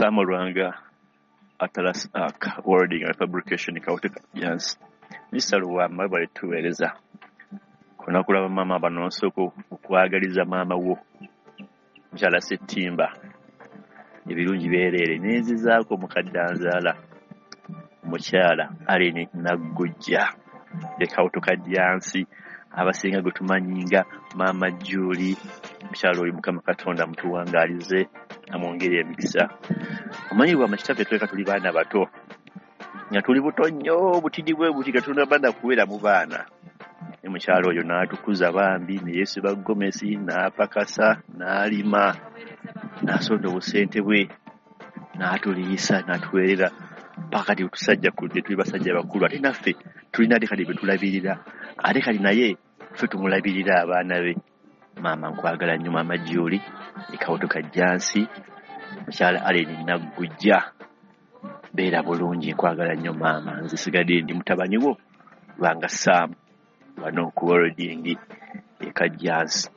Sam Lwanga, Atlas Arc Welding and Fabrication, Kawutu Kajjansi. Mr. Luwamba, webale tuweereza. Ku lunaku lwa bamaama bano nsooka okwagaliza maama wo mukyala Ssettimba ebirungi byereere n'enzizaako mukadde anzaala omukyala Allen Naggujja e Kawutu Kajjansi abasinga gwe tumanyi nga Maama Julie. Mukyala oyo Mukama Katonda amutuwangaalize amwongere emikisa. Omanyi Lwamba kitaffe tweka tuli baana bato nga tuli buto nnyo obutidi bwe buti nga tunaba kuwera mu baana. Ne mukyala oyo n'atukuza bambi ne yeesiba gomesi n'apakasa n'alima n'asonda obusente bwe n'atuliisa n'atuweerera paka kati tusajja kudde tuli basajja bakulu ate naffe tulina ate kati be tulabirira ate kati naye ffe tumulabirira abaana be. Maama nkwagala nnyo Maama Julie e Kawutu Kajjansi mukyala Allen Naggujja beera bulungi nkwagala nnyo maama nze sigadde ndi mutabani wo Lwanga Sam wano ku welding e Kajjansi.